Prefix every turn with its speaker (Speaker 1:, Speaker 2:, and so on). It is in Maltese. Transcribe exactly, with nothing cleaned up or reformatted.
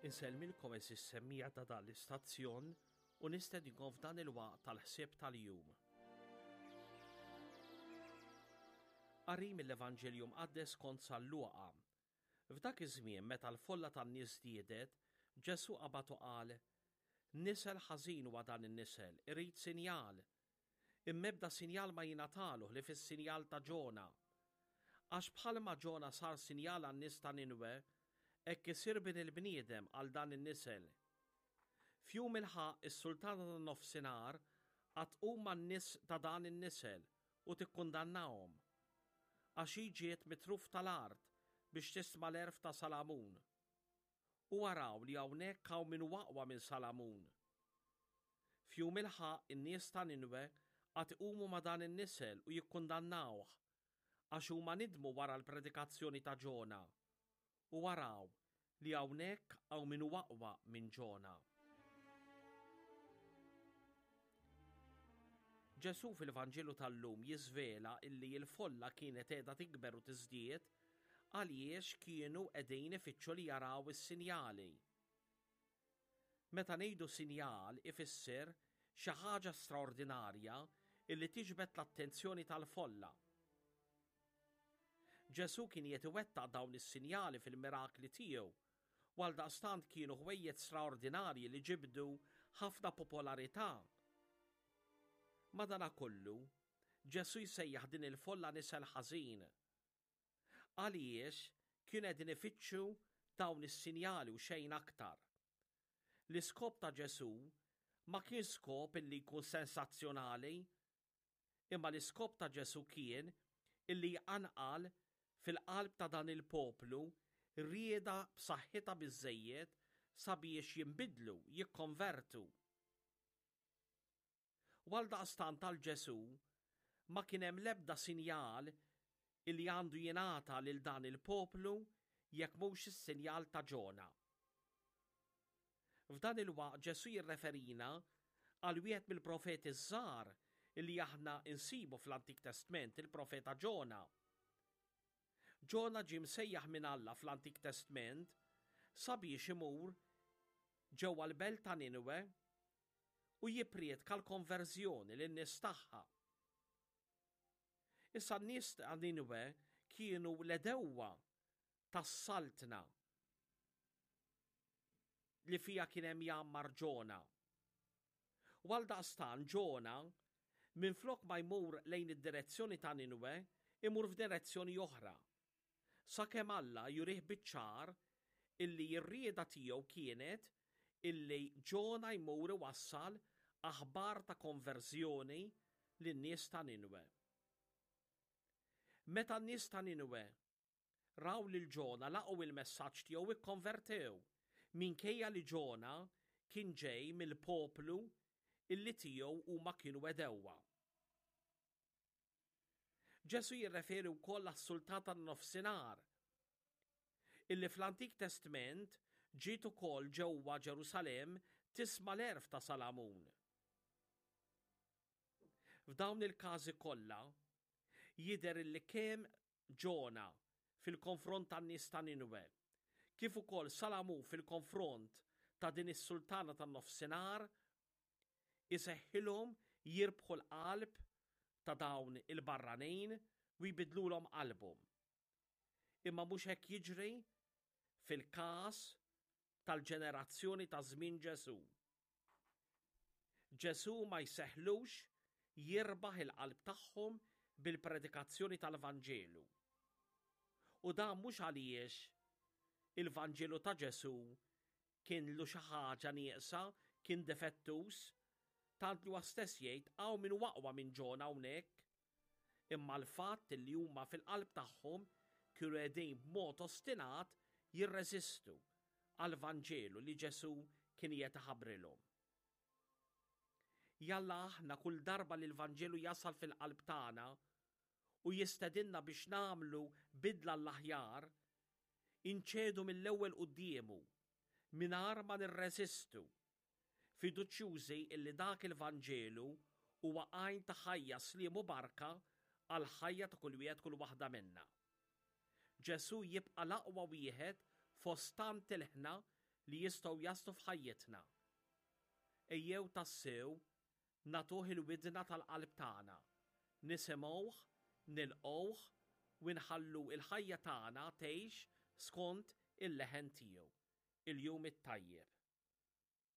Speaker 1: Insellmilkom għeżież semmiegħa ta' dan l-istazzjon u nistedinkom f'dan il-waqt tal-ħsieb tal-jum. Qari mill-Evanġelju Mqaddes kont San Luqa. F'dak iż-żmien meta l-folla tan-nies żdiedet, Ġesù qabad u qal, Nisel ħażin huwa dan in-nisel, irid sinjal. Imma ebda sinjal ma jingħatalu ħlief is-sinjal ta' Ġona. Għax bħalma Ġona sar sinjal għan-nies ta' Ninwe, hekk isir bin il-bniedem għal dan in-nisel. F'jum il-ħaqq is-sultana tan-nofsinhar għad tqum man-nies ta' dan in-nisel u tikkundannahom. Għax hi ġiet mit-truf tal-art biex tisma' l-għerf ta' Salamun. U araw li hawnhekk hawn min hu aqwa minn Salamun. F'jum il-ħaqq in-nies ta' Ninwe għad iqumu ma' dan in-nisel u jikkundannawh, għax huma nidmu wara l-predikazzjoni ta' Ġona. U araw li hawnhekk hawn min hu aqwa minn Ġona. Ġesù fil-Vanġelu tal-lum jiżvela illi l-folla kienet qiegħda tikber u tiżdied għaliex kienu qegħdin ifittxu li jaraw is-sinjali. Meta ngħidu sinjal ifisser xi ħaġa straordinarja illi tiġbed l-attenzjoni tal-folla. Ġesù kien qed iwettaq dawn is-sinjali fil-mirakli tiegħu u għaldaqstant kienu ħwejjeġ straordinarji li ġibdu ħafna popolarità. Madanakollu, Ġesù jsejjaħ din il-folla nisel ħażin. Għaliex kienu qegħdin ifittxu dawn is-sinjali u xejn aktar. L-iskop ta' Ġesù ma kien skop illi jkun sensazzjonali, imma l-iskop ta' Ġesù kien illi jqanqal fil-qalb ta' dan il-poplu rieda b'saħħitha biżżejjed sabiex jinbidlu, jikkonvertu. U għaldaqstant għal Ġesù ma kien hemm l-ebda sinjal illi għandu jingħata lil dan il-poplu jekk mhux is-sinjal ta' Ġona. F'dan il-waqt Ġesù jirreferina għal wieħed mill-profeti żgħar illi aħna insibu fl-Antik Testment, il-profeta Ġona. Ġona ġie msejjaħ minn Alla fl-Antik Testment sabiex imur ġewwa l-belt ta' Ninwe u jipprietka l-konverżjoni lin-nies tagħha. Issa n-nies ta' Ninwe kienu l-edewwa tas-saltna li fija kien hemm jgħammar Ġona. U għaldaqstant Ġona minflok ma jmur lejn id-direzzjoni ta' Ninwe, imur f'direzzjoni oħra. Sakemm Alla jurih biċ-ċar illi r-rieda tiegħu kienet illi Ġona jmur iwassal aħbar ta' konverżjoni lin-nies ta' Ninwe. Meta n-nies ta' Ninwe raw lil Ġona laqgħu il-messaġġ tiegħu ikkonvertew, minkejja li Ġona kien ġej mill-poplu illi tiegħu huma kienu għedewwa. Ġesù jirreferi wkoll għas-sultan tan-nofsinhar, illi fl-Antik Testment ġiet ukoll ġewwa Ġerusalemm tisma' l-għerf ta' Salamun. F'dawn il-każi kollha jidher illi kemm Ġona fil-konfront tan-nies ta' Ninwe, kif ukoll Salamun fil-konfront ta' din is-sultana tan-nofsinhar, iseħħilhom jirbħu l-qalb ta' dawn il-barranin u jbidlulhom qalbhom. Imma mhux hekk jiġri fil-każ tal-ġenerazzjoni ta' żmien Ġesù. Ġesù ma jseħħlux jirbaħ il-qalb tagħhom bil-predikazzjoni tal-Vanġelu. U dan mhux għaliex il-Vanġelu ta' Ġesù kien lu xi ħaġa nieqsa, kien defettus, tant li huwa stess jgħid hawn min hu aqwa minn Ġona hawnhekk. Imma l-fatt li huma fil-qalb tagħhom kienu qegħdin b'mod ostinat jirreżistu għall-Vanġelu li Ġesù kien qiegħed iħabbrilhom. Jalla aħna kull darba li l-Vanġelu jasal fil-qalb tagħna u jistedinna biex nagħmlu bidla l-aħjar, inċedu mill-ewwel quddiemu mingħajr ma nirreżistu, fiduċjużi illi dak il-Vanġelu huwa għajn ta' ħajja, sliem u barka għal ħajja ta' kull wieħed kull waħda minna. Ġesù jibqa' l-aqwa wieħed fost tant ilħna li jistgħu jaslu f'ħajjitna. Ejjew tassew nagħtuh il-widna tal-qalb tagħna, nisimgħuh, nilqgħuh u nħallu il-ħajja tagħna tgħix skont il-leħen tiegħu. Il-jum it-tajjeb.